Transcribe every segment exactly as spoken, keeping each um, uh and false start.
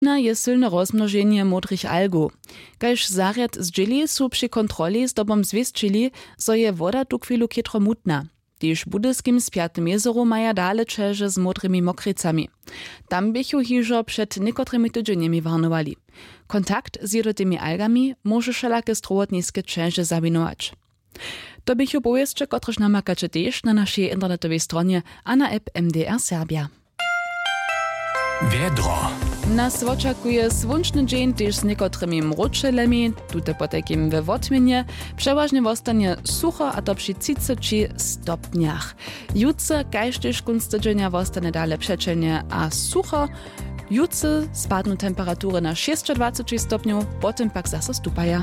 Přičina je sylne rozmnoženje módrych algow. Kaž zarjad zdźěli, su při kontroli zdobom zwěsćili, zo je woda tuchwilu chětro mutna. Tež w budyskim spjatym jezeru maja dale ćeže z módrymi mokricami. Tam běchu hižo před někotrymi tydźenjemi warnowali. Kontakt z jědotymi algami móžu wšelake strowotniske ćeže zawinować. To běchu powěsće, kotrež namakaće tež na našej internetowej stronje a na app M D R Serbja. Wjedro. Nas wočakuje słónčny dźeń, tež z někotrymi mróčelemi. Tute potajkim we wotměnje. Přewažnje wostanje sucho, a to při třiceći stopnjach. Jutře kaž tež kónc tydźenja wostanje dale přećelnje a sucho. Jutře spadnu temperatury na šěsćadwaceći stopnjow, potom pak zaso stupaja.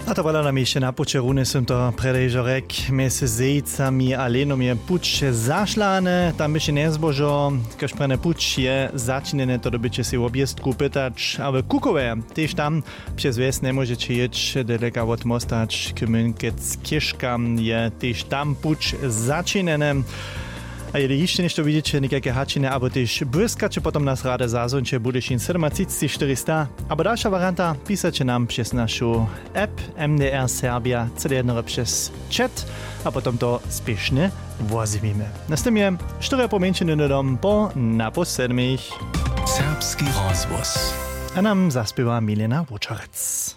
A to wala nam hišće na puće runje sym to prjedy hižo rjek. Mjez zejcami a lenom je puć zašlany, tam běše njezbožo, kaž prjene puć je začinjene, to dyrbjeće sej wobjěztku pytać. A w Kukowje tež tam přez wjes njemóžeće jěć, daleka wot mosta hač k mynkec chěžkam je tež tam puć začinjene. A jeli hišće něšto widźeće, někajke hačiny abo tež błyskaće, potom nas rady zazwónće. Budyšin sydomatřicći štyristo abo dalša warianta, pisaće nam přez našu app M D R Serbia, cyle jednore přez chat, a potom to spěšnje wozjewimy. Na stemje štyrje pomjeńšiny dom po napoł sedmich. Serbski rozhłos. A nam zaspěwa Milena Wóčarec.